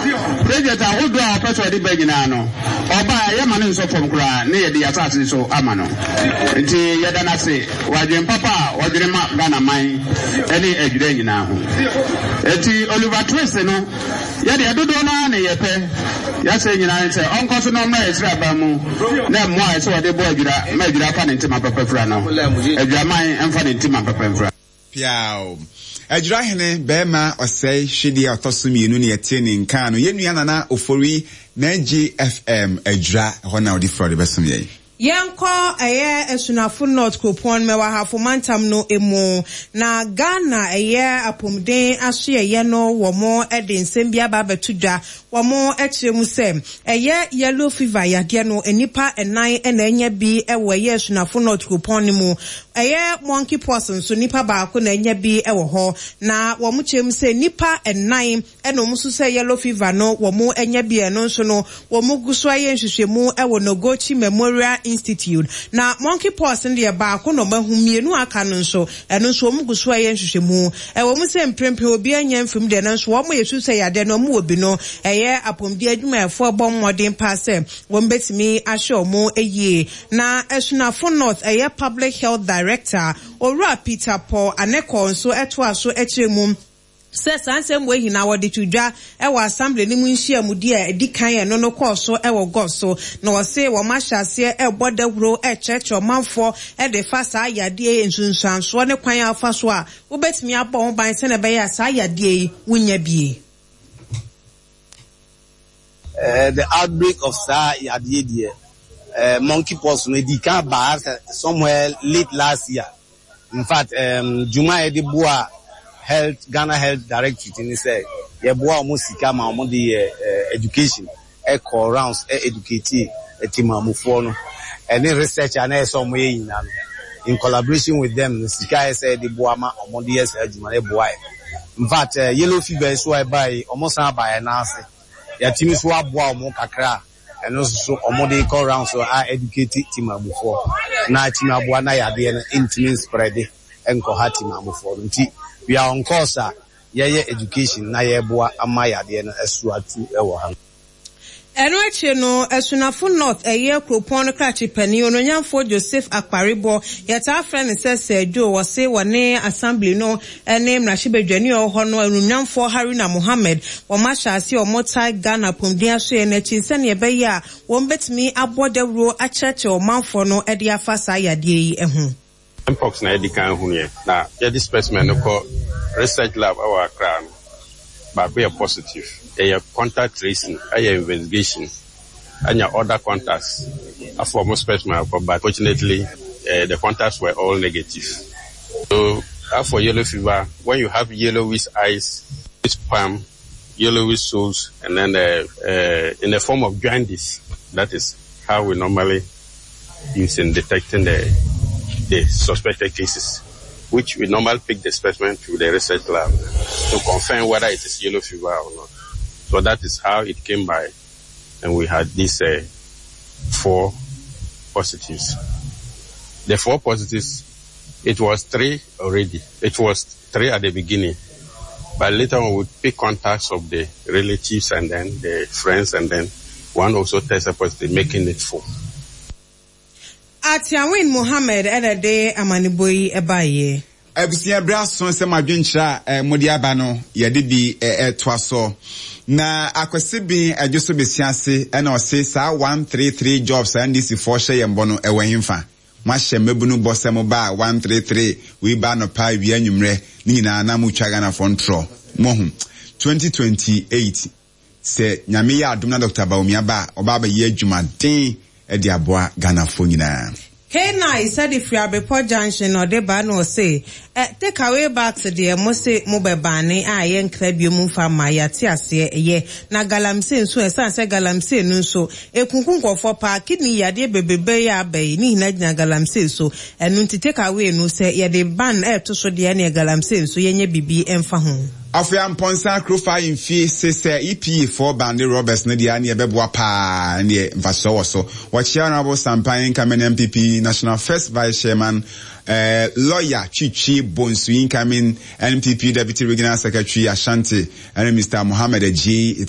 Project ahodoɔ a ɔpɛ sɛ ɔde ba nyinaa no, ɔba a, yɛmma no nsɔ fam koraa na yɛde yɛn asase so ama no. Nti yɛda no ase wɔ adwene papa a ɔdwene ma Ghana man ne Adwira nyinaa ho. Nti Oliver Twist no, yɛdeɛ dodoɔ no ara na yɛpɛ. Yɛasrɛ nyinaa ne sɛ ɔnkɔ so na ɔmmra yɛn sraban mu na mmoa a ɛsɛ ɔde boa Adwira ma Adwira fa ne ntema papa fira no, Adwiraman mfa ne ntema papa mfira. Piaw. Adwira hene barima ɔsɛe hwedeɛ a ɔtɔ so mmienu ne yɛtee ne nka no, yɛn nua Nana Ofori Nagyi FM Adwira, ɛhɔ na ɔde firi a ɔde bɛsom yɛn. Yɛnkɔ ɛyɛ Asunafo North kuropɔn Mɛwa Ahafo mantam no mu na Ghana ɛyɛ apomuden asoɛyɛ no wɔn de nsɛm bi aba abɛto dwa. Wɔn kyerɛ mu sɛ ɛyɛ yellow fever yadeɛ no nnipa nnan na anya bi wɔ ɛyɛ Asunafo North kuropɔn no mu. Ɛyɛ monkey pox nso nnipa baako na anya bi wɔ hɔ. Na wɔn kyerɛ mu sɛ nnipa nnan Ɛna wɔn nso sɛ yellow fever no wɔn anya bi a ɛno nso no wɔn gu so ayɛ nhwehwɛmu wɔ Noguchi Memorial Institute. Na monkey pox no deɛ baako na wɔn ahu, mmienu a aka no nso ɛno nso wɔn gu so ayɛ nhwehwɛmu. Ɛwɔ mu sɛ mprempren obiara nnya mfiri mu deɛ nanso wɔn a yɛsu sɛ yadeɛ no wɔn wɔ bi no ɛyɛ apɔmuden adwumayɛfoɔ bɔ mmɔden paa sɛ wɔn bɛtumi ahwɛ wɔn yie. Na Asunafo North ɛyɛ Public Health Director Owura Peter Paul Anekor nso toaa so kyerɛ mu sɛ saa nsɛm wei nyinaa wɔde to dwa wɔ Assembly no mu nhyiamudi a ɛdi kan a ɛno no kɔɔ so wɔ Gɔ so, na wɔse wɔn ahyɛ aseɛ rebɔ dawuro rekyerɛkyerɛ ɔmanfoɔ de fa saa yadeɛ yi nsunsuansoɔ ne kwan a wofa so a wobɛtumi abɔ ho ban sɛdeɛ ɛbɛyɛ a saa yadeɛ yi wonnya bie. The outbreak of saa yadeɛ deɛ, monkey pox no ɛdii kan baa somewhere late last year. In fact, dwuma a yɛde boa health, Ghana Health Directorate ne sɛ yɛboa wɔn sika ma wɔn de yɛ education, ɛkɔ rounds educate temamufoɔ no, ɛne research a na ɛyɛ sɛ wɔn yɛ nyinaa no, in collaboration with them no, sika a ɛyɛ sɛ yɛde boa ma wɔn de yɛ saa adwuma no, ɛboa yɛn. In fact, yellow fever nso a ɛbaeɛ yi, wɔn san baa yɛn nan ase. Yɛatumi nso aboa wɔn kakra a Ɛno nso so wɔde kɔ round so a educate Timamufoɔ na atumi aboa na yadeɛ no ntumi nsprɛde nkɔha Timamufoɔ no. Nti we are on course a yɛyɛ education na yɛreboa ama yadeɛ no asu atu wɔ ha. Ɛno akyire no, Asunafo North ɛyɛ kuropɔn no krakye panin, Onuonyamfoɔ Joseph Akparibɔ, yɛtaa frɛ no sɛ Sir Joe, ɔse wɔne Assembly no ne mmarahyɛbadwani a ɔwɔ hɔ no Anuonyamfoɔ Haruna Mohammed, wɔn ahyɛ aseɛ a wɔtae Ghana apɔmuden asoɛeɛ no akyi sɛdeɛ ɛbɛyɛ a wɔn bɛtumi abɔ dawuro akyerɛkyerɛ ɔmanfoɔ no de afa saa yadeɛ yi ho. Mpox na yɛdi kan hunuiɛ na yɛde specimen no kɔ research lab wɔ Accra no, baako yɛ positive. Yɛyɛ contact tracing, yɛ investigation anya other contacts afa wɔn specimen akɔ but fortunately the contacts were all negative. So as for yellow fever, when you have yellowish eyes, palm, yellowish soles and then in the form of jaundice, that is how we normally use in detecting the, the suspected cases, which we normally pick the specimen to the research lab to confirm whether it is yellow fever or not. So that is how it came by, and we had these uh, four positives. The four positives, it was three already. It was three at the beginning. But later on, we pick contacts of the relatives and then the friends, and then one also tested positive, making it four. Atiawin Mohammed na ɛde amanebɔ yi baeɛ. Abusua, bere aso sɛ mo adwenkyerɛ a mode aba no, yɛde bi toa so. Na Akwasi Ben Adwo so besia ase na ɔse saa 133 jobs a NDC foɔ hyɛ yɛn bɔ no ɛwɔ henfa? Moahyɛ mmabunu bɔ sɛ moba a 133 wei ba anɔpa, awia, anwummerɛ ne nyinaa na motwa Ghanafoɔ ntorɔ. Moahu? 2028. Sɛ Nyame yɛ adom na Doctor Bawumia ba a, ɔba abɛyɛ adwumaden de aboa Ghanafoɔ nyinaa. K-Nice sɛ de firi Abepɔ junction na ɔde ba na ɔse ɛ take away bags deɛ mo se mo bɛ bane a yɛ nkra biom mfa mma yɛate aseɛ ɛyɛ na galamsey nso ɛsan sɛ galamsey no nso ɛkunku nkurɔfoɔ paa kidney yadeɛ bebrebe yi a aba yi ne nyinaa gyina galamsey so ɛno nti take away no sɛ yɛde ban ɛɛto so deɛ ɛneɛ galamsey nso yɛnyɛ bibi mfa ho. Afei Amponsah Akrofa Ahemfie se sɛ EPA foɔ bande robbers no deɛ a neɛ ɛbɛboa paa ɛneɛ mfasoɔ wɔ so. Wɔkyea Honourable Sampan incoming NPP National First Vice Chairman, eh, Lawyer Twitwi Bonsu incoming NPP Deputy Regional Secretary Ashanti ɛne Mister Mohammed Adjei.